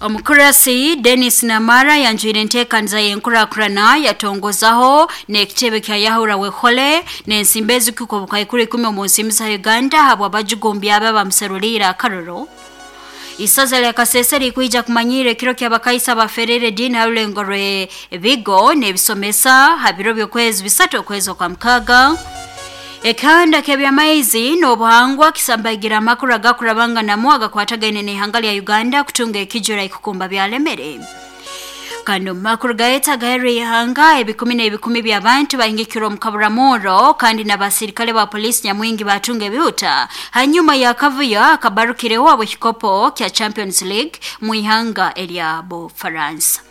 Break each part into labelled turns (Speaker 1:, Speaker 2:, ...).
Speaker 1: Omukurasi Dennis Namara yanjwire enteekaniza y'enkurakurana yatongozaho n'ekitebe kya Yahura Wekhole n'ensimbi ezikuka obukaikuru 10 omu nsimbi za Uganda habw'abajugumbya aba bamuseruliire akaroro. Isaza lya Kasese likwija kumanyira ekiro ky'abakaisa baferere ediini ha rulengo rwe bigo n'ebisomesa ha biro by'okwezi 3 okwezi okwa 6. Ekihanda ky'ebyamaizi n'obuhangwa kisambaigira amakuru agakurabanganamu agakwatagaine n'ihanga lya Uganda kutunga ekijura ikukumba byalemere. Kandi omu makuru gaeta gaherwa ihanga ebikumi n'ebikumi by'abantu bahingikirwa omu kaburamuro kandi n'abasirikale ba polisi nyamwingi batunga ebihuta hanyuma y'akavuyo akabarukireho ab'ekikopo kya Champions League mu ihanga erya Bufaransa.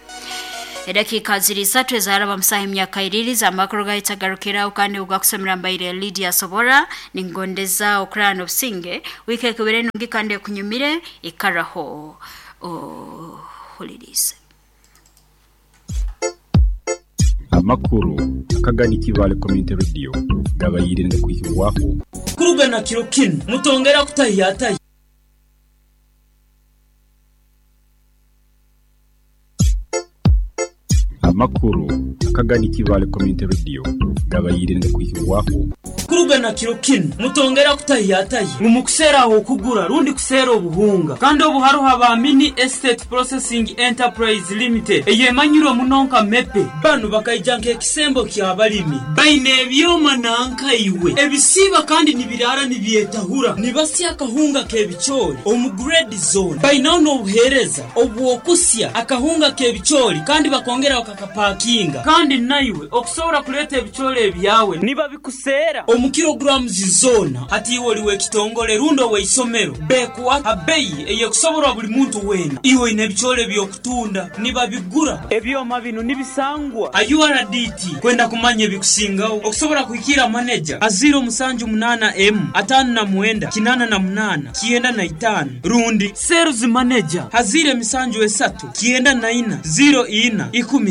Speaker 1: Edakika ziri 3 ezaraba musaha emyaka 2 z'amakuru gaita garukiraho kandi ugakusomera mbaire Lydia Sobora ningondeza okurana obusinge wike ekubire nungi kandi ekunyumire ikaraho ohulirize.
Speaker 2: Amakuru akagani Kibale Community Radio gabayire ngakwihibwaho
Speaker 3: Kurugana kiro kinu mutongera kutahiyatahi.
Speaker 2: Amakuru akagani Kibale Community Radio gabayire ngakwihibwaho
Speaker 3: Kurugana kiro kinu mutongera kutahiyatahi
Speaker 4: Mumukuseraho okugura rundi kusera obuhunga kandi obuharuha ba Mini Estate Processing Enterprise Limited eyemanyirwe muno nka mepe banu bakaija nk'ekisembo ky'abalimi baine ebyoma nankaiwe ebisiba kandi nibirara nibyetahura nibasya akahunga k'ebicoori omu grade zone bainaho n'obuheereza obw'okusya akahunga k'ebicoori kandi bakongera bakakapakinga kandi naiwe okusobora kuleeta ebicoori ebyawe nibabikusera omu kilograms zona hati iwe oliwe ekitongole rundi oweisomero bekuwa abeyi eyekusoborwa buli muntu wena iwe ine ebicoori ebyokutunda nibabigura ebyoma bino nibisangwa URDT kwenda kumanya ebikusingaho okusobora kuhikira manager a 078 M 59 88 95 rundi sales manager a 073 94 04 10.